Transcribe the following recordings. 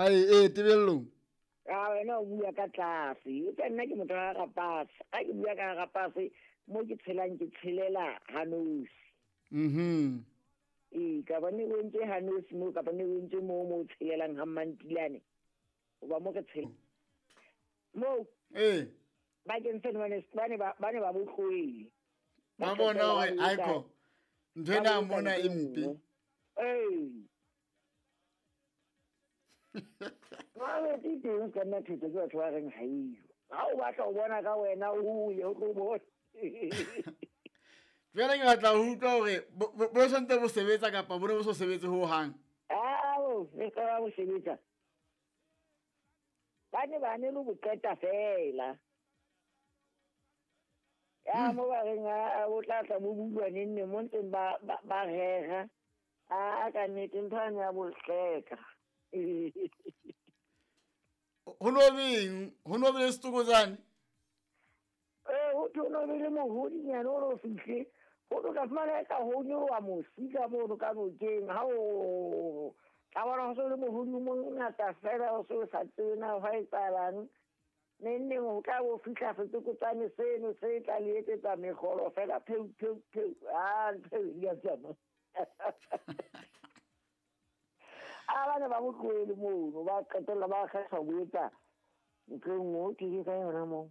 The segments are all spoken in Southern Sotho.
Ai ee tebellong. A wena o bua ka tlase. Eupša nna ke motho wa Gapase. Ga ke bua ka Gapase, mo ke tshelang ke tshelela Hanosi. Mhm. Ee, ka ba ne o entse Hanosi mo, kapa ne o entse mo mo o tshelelang ga Mmantilane. Goba mo re tshela. Mo. Ee. Bakeng seno ba ne ba botloele. Ba bona gore aiko ntho ena mona e mpe. Ee. Jwale ke teng ka nna thetso ke batho ba reng ha eyo. Ha o batla ho bona ka wena o ye o tlo bona. Jwale ke batla ho utlwa hore bo santse bo sebetsa kapa bo ne bo so sebetse ho hang. Ao, re ka bo sebetsa. Ba ne ba ne lo bo qeta fela. Ya mo ba reng a o tla tla bo bulwa neng neng mo ntseng ba rera. A ka nnete ntho ane ya bohleka. Ho no beng, ho no be le setokotsane? Ee, ho thwe ho no be le mohodinyana o no fihle. Ho tlo tla fumana eka ho nyoloha mosi ka mono ka nokeng. Ha o tla bona ho se le mohodi o mongata fela o se o sa tsebe na hwa etsahalang. Neng neng ho tla bo fihla setokotsane seno se tla le etsetsa mekgolo fela pheu pheu pheu. A ntho e ya tsamaya. A ba ne ba mo tlohele mono, ba qetella ba kgetha ho etsa ntho e nngwe, ke ke ka yona moo.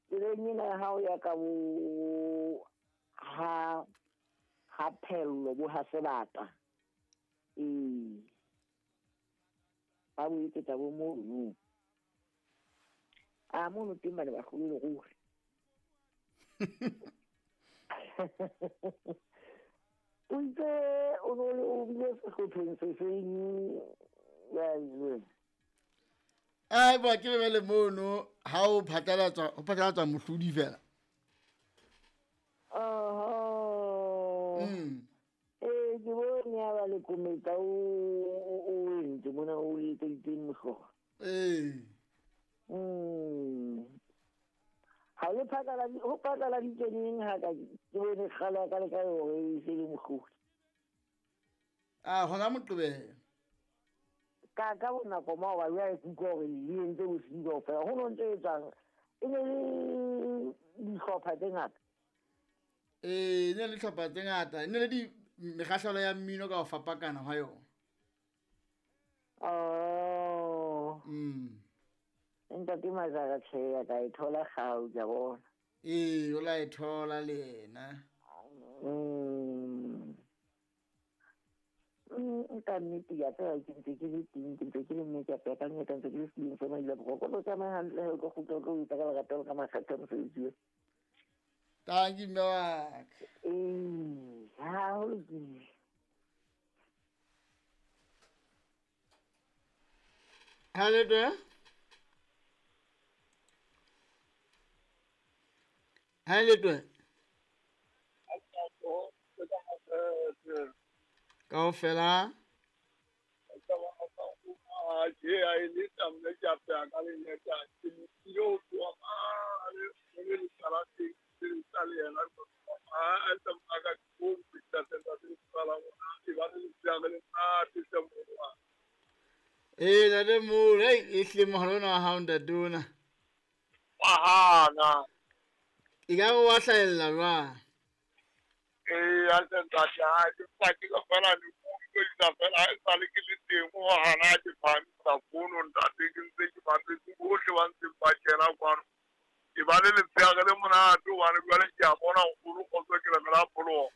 Tseleng ena ya hao ya ka bo ha phello bo ha sebata. Ee. Ba bo etsetsa bo mono. A mono teng ba ne ba hlolele ruri. O itse o no le o bile sehlopheng se seng ya jwe. Ai ba ke bele mono ha o phatlalatswa, ho phatlalatswa mohlodi fela. Oho. Ee, ke bone ya ba le kometsa o entse mona o etseditseng mohlolo. Ee. Ha le phatlala, ho phatlaladitswe neng ha ka ke bone kgale ya ka le ka hore e se le mohlodi. A hona Moqebelo. Ka bonako maoba jwale ke utlwa hore le entse bosiu kaofela. Ho no ntse etswang? E ne le dihlopha tse ngata. Ee, e ne le dihlopha tse ngata. E ne le di mekgahlelo ya mmino ka ho fapakana hwa yona. Oh. Ntate Mazara tjhe ya ka e thola kgau ke a bona. Ee, o la e thola le yena. Ka nnete ke a tseba ke ntse ke le teng, ke ntse ke le mme ke a peka nnete, ntse ke le setulong sa maila boroko. O tlo tsamaya hantle he, o tlo kgutla, o tlo etsa ka lerato le ka makgethe a mosebetsi wa. Tanki mme wa ka. Ee, ha ho lokile. Ha le twe? Ha le twe? Kaofela. Ee, ntate Molo, hei, e hlile mohala ona wa hao ntate ona. Wa hana. E ka re wa hlahella jwang? Ee, hantle ntate, ha ke mpa ke ka fela le utlwisisa fela, ha esale ke le teng ho hana ke phahamisa fono ntate, ke ntse ke bapetse bohle ba ntseng ba kena kwano. Ke ba le letsheare le monate hobane jwale ke a bona nkgono kgotso ke lemela pholoho.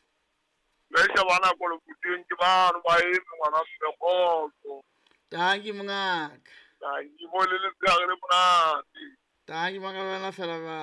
Jwale sheba nako leboteng ke bano ba eme ngwana mme kgotso. Tanki mongaka. Tanki mo le letsheare le monate. Tanki mongaka wena fela ba.